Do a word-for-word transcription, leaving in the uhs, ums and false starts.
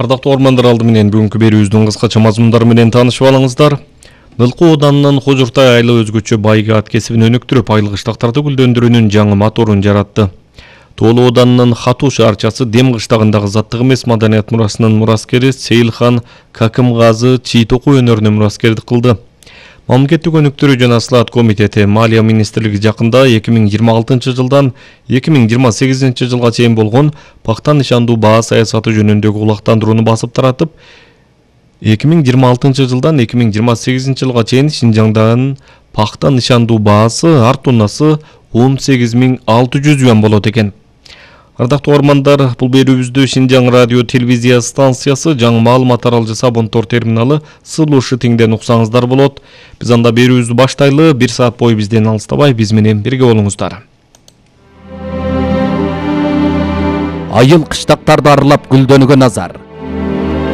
Ардактуу ормандар, алды менен бүгүнкү берүүбүздүн кыскача мазмундары менен таанышып алыңыздар. Нылкы ооданынын Кожуртай айыл өзгөчө байгат кесибин өнүктүрүп, айыл кыштактарды гүлдөндүрүүнүн жаңы моторун жаратты. Тоолу ооданынын Хатуу шаарчасы Дем кыштагындагы заттык эмес маданият мурасынын мураскери Сейилхан Какымгазы чий токуу өнөрүнө мураскердик кылды. Мамлекеттик өнүктүрүү жана Слаат комитети Малия министрлиги жакында эки миң жыйырма алтынчы жылдан эки миң жыйырма сегизинчи жылга чейин болгон пакта нышандуу баа саясаты жөнүндөгү улактандырууну басып таратып, эки миң жыйырма алтынчы жылдан эки миң жыйырма сегизинчи жылга чейин Шинжаңдагы пакта нышандуу баасы ар тоннасы он сегиз миң алты жүз юан болот экен. Ардактуу ормандар, бул берүүбүздү Шинжаң радио телевизия станциясы, жаңы маалымат таралжы Сабонтор терминалы Сылушы тиңден уксаңыздар болот. Биз анда берүүбүздү баштайлы, бир саат бою бизден алыстабай биз менен бирге болуңуздар. Айыл кыштактарды аралап гүлдөнүүгө назар.